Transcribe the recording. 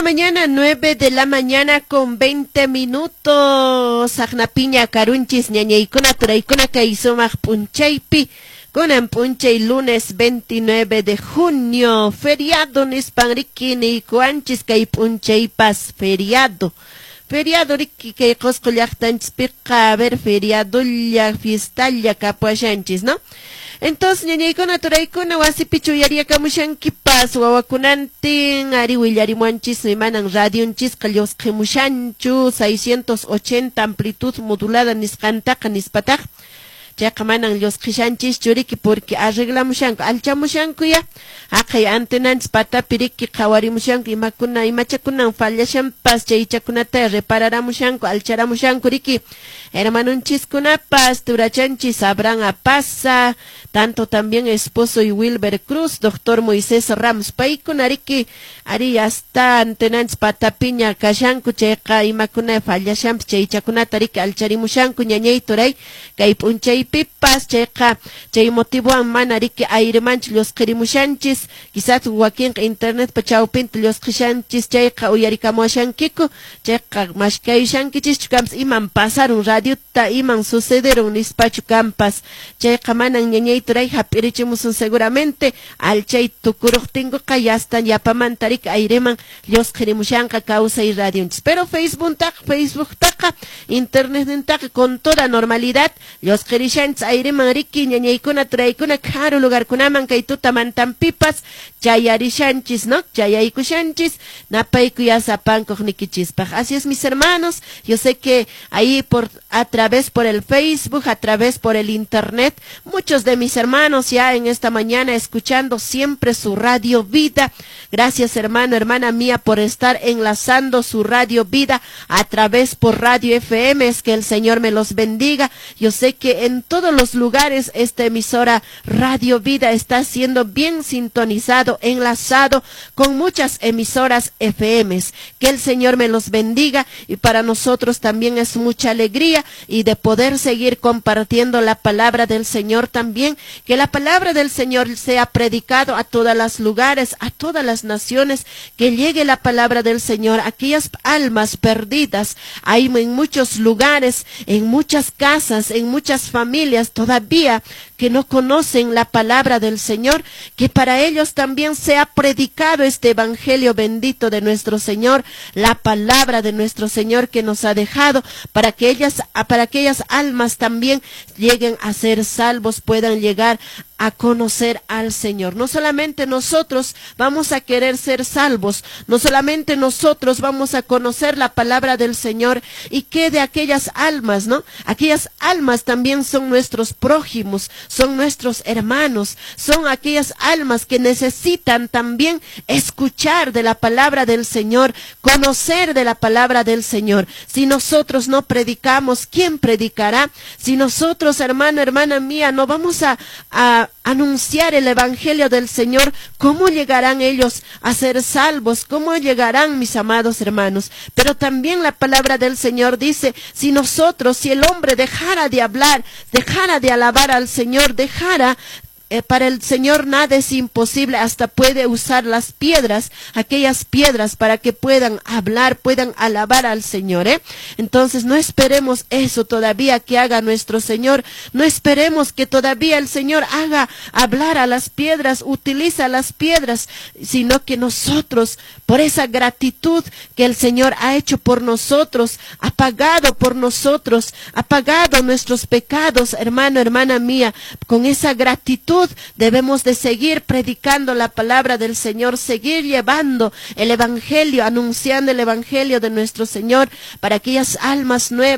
mañana, 9 de la mañana con 20 minutos. Saqnapiña karunchis ñañaykuna turaykuna kay sumaq p'unchaypi. Kunan p'unchay lunes 29 de junio, feriado nispan riki niykuwanchis kay p'unchaypas feriado. Feriado riki kay Qosqo llaqtanchispiqa, a ver, feriadolla, fiestalla kapuashanchis, ¿no? Entonces, ñañaykuna turaykuna wasipichu uyariyakamushankipas wawakunantin ari willarimuanchismi manan radionchisqa llusqimushanchu 680 amplitud modulada nisqantaqa nispataq chayqa manan llusqishanchischu riki porque arreglamushanku alchamushanku ya haqay antenanchis patapi riki qhawarimushanku imakuna imachakunan fallashanpas chaychakunata repararamushanku alcharamushanku riki hermanonchiskunapas turachanchis Abraham Apaza, tanto también esposo y Wilber Cruz, doctor Moisés Ramos, paykuna riki ari hasta antenanchis patapiña kashanku chayqa imakuna fallashanpas chaychakunata riki alcharimushanku ñañay turay kay p'unchaypipas chayqa chay motivowan mana riki airemanchu llusqirimushanchis quizás wakinqa internetpa chawpinta llusqishanchis chayqa uyarikamuashankiku chayqa mashkayushankichischu kampas iman pasarun radiota iman sucederun nispachu kampas chayqa manan ñañay turay hap'irichimusun seguramente alchay tukuruqtinkuqa yasta yapamanta riki aireman llusqirimushanqa kawsay radionchis pero Facebooktaqa internetnintaqa con toda normalidad llusqirishanchis aireman riki ñañaykuna turaykuna karu lugarkunaman kay tutamantanpipas chayarishanchis, ¿no? Chayaykushanchis napayku yasapankuq nikichispaq. Así es, mis hermanos, yo sé que ahí por a través por el Facebook, a través por el internet, muchos de mis hermanos ya en esta mañana escuchando siempre su Radio Vida. Gracias, hermano, hermana mía, por estar enlazando su Radio Vida a través por Radio FM. Es que el Señor me los bendiga. Yo sé que en todos los lugares esta emisora Radio Vida está siendo bien sintonizado, enlazado con muchas emisoras FMs. Que el Señor me los bendiga y para nosotros también es mucha alegría y de poder seguir compartiendo la palabra del Señor también, que la palabra del Señor sea predicado a todas las lugares, a todas las naciones, que llegue la palabra del Señor a aquellas almas perdidas. Hay en muchos lugares, en muchas casas, en muchas familias todavía que no conocen la palabra del Señor, que para ellos también sea predicado este evangelio bendito de nuestro Señor, la palabra de nuestro Señor que nos ha dejado, para que ellas, para aquellas almas también lleguen a ser salvos, puedan llegar a conocer al Señor. No solamente nosotros vamos a querer ser salvos, no solamente nosotros vamos a conocer la palabra del Señor y que de aquellas almas, ¿no? Aquellas almas también son nuestros prójimos, son nuestros hermanos, son aquellas almas que necesitan también escuchar de la palabra del Señor, conocer de la palabra del Señor. Si nosotros no predicamos, ¿quién predicará? Si nosotros, hermano, hermana mía, no vamos a anunciar el evangelio del Señor, ¿cómo llegarán ellos a ser salvos? ¿Cómo llegarán, mis amados hermanos? Pero también la palabra del Señor dice, si nosotros, si el hombre dejara de hablar, dejara de alabar al Señor, dejara para el Señor nada es imposible, hasta puede usar las piedras, aquellas piedras para que puedan hablar, puedan alabar al Señor, ¿eh? Entonces no esperemos eso todavía que haga nuestro Señor, no esperemos que todavía el Señor haga hablar a las piedras, utiliza las piedras, sino que nosotros, por esa gratitud que el Señor ha hecho por nosotros, ha pagado por nosotros, ha pagado nuestros pecados, hermano, hermana mía, con esa gratitud debemos de seguir predicando la palabra del Señor, seguir llevando el evangelio, anunciando el evangelio de nuestro Señor para aquellas almas nuevas.